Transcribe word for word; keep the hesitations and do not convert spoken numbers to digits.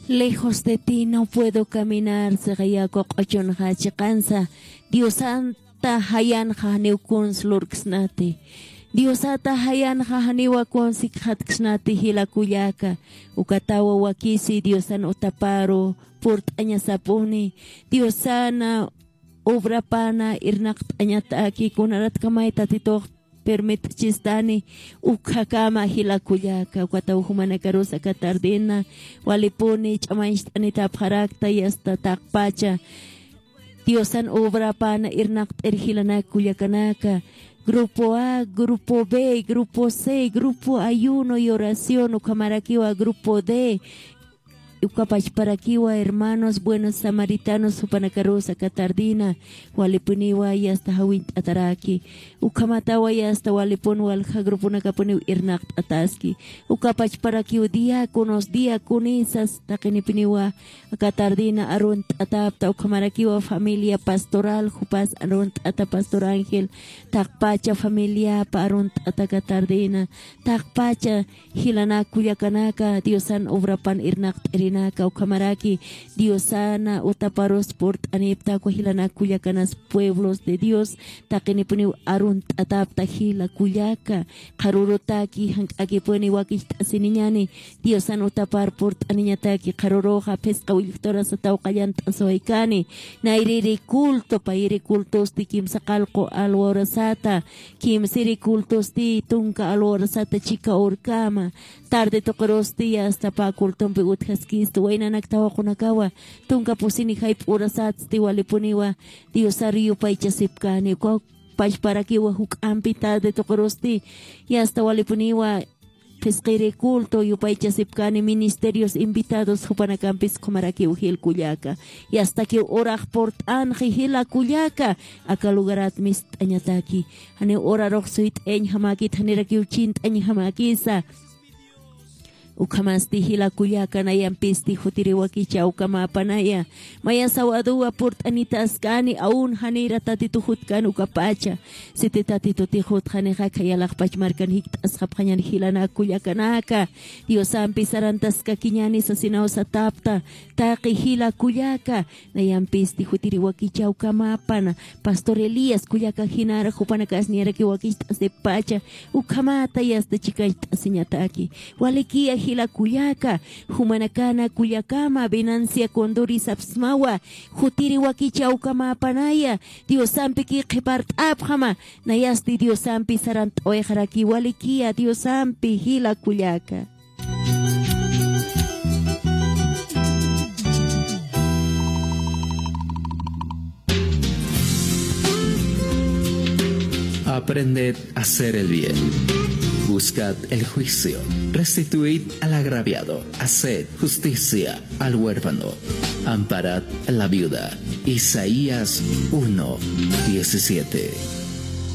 Lejos de ti no puedo caminar, sixa yaku q'uchunxa chiqansa. Diosanta jayanxa janiw kuns lurksnati. Diosata jayanxa janiwa kuns ikxatksnati jila kullaka. Ukatawa wakisi Diosan utaparu purt'añasapuni. Diosana obrapana irnaqt'añataki, kunaratkamay Tatitux permitchistani ukkhakama jila kullaka. Ukataw jumanakarus aka tardena walipuni ch'amañcht'anitapxarakta, yasta taqpacha Diosan obrapana irnaqt'ir jilanak kullakanaka. Grupo A, grupo B, grupo C, grupo ayuno y oración, ukhamarakiwa grupo D. Uka pachparakiwa hermanos buenos samaritanos jupanakarus aka tardena walipuniwa yasta jawint'ataraki. Ukhamatawa yasta walipun walja gruponakapuniw irnaqt'ataski. Uka pachparakiw diáconos, diaconisas taqinipuniwa aka tardena arunt'atapta, ukhamarakiwa familia pastoral, jupas arunt'ata Pastor Ángel, taqpacha familiapa arunt'ata aka tardena, taqpacha jilanak kullakanaka, Diosan obrapan irnaqt'irinaka, ukhamaraki Diosana utaparus purt'anipta, uka jilanak kullakanas pueblos de Dios taqinipuniw arunt'atapta jila kullaka. Qharürutaki jank'akipuni wakicht'asiniñani, Diosan utapar purt'aniñataki. Qharüruxa phisqa willkturasataw qallant'asiwaykani. Nayrïri culto, payïri cultosti kimsa qallqu alwa urasata, kimsïri cultosti tunka alwa urasata chika urkama. Tarde tuqirusti yasta pä cultompi utjaskisti, waynanak tawaqunakawa tunka pusini jayp'u urasatsti walipuniwa Diosar yupaychasipkani. Uka pachparakiwa juk'ampi tarde tuqirusti yasta walipuniwa phisqiri culto yupaychasipkani, ministerios invitados jupanakampis ukhamarakiw jil kullaka. Yastakiw urax purt'anxi jila kullaka, aka lugarat mist'añataki. Janiw urarux suyt'añjamäkit, janirakiw chint'añjamäkisa. Ukhamasti jila kullaka, nayampisti jutiri wakichäwkamäpanaya. Maya sawaduwa purt'anitaskani, aun janïra Tatitu jutkan ukapacha. Siti Tatitutix jutxanixa, khayalaxpach markan jikt'asxapxañan jilanak kullakanaka. Diosampi sarantaskakiñani sasinaw satapta, taqi jila kullaka. Nayampisti jutiri wakichäwkamäpana, Pastor Elías kullaka jinara jupanakas niyarakiw wakicht'asipacha, ukhamata yasta chikacht'asiñataki. Walikiya jila kullaka, jumanakana kullakama Venancia Condori sapsmawa, jutiri wakichäwkamäpanaya, Diosampiki qhipart'apxama, nayasti Diosampi sarant'awayxaraki, walikiya Diosampi jila kullaka. Aprended a hacer el bien. Buscad el juicio. Restituid al agraviado. Haced justicia al huérfano. Amparad a la viuda. Isaías uno diecisiete.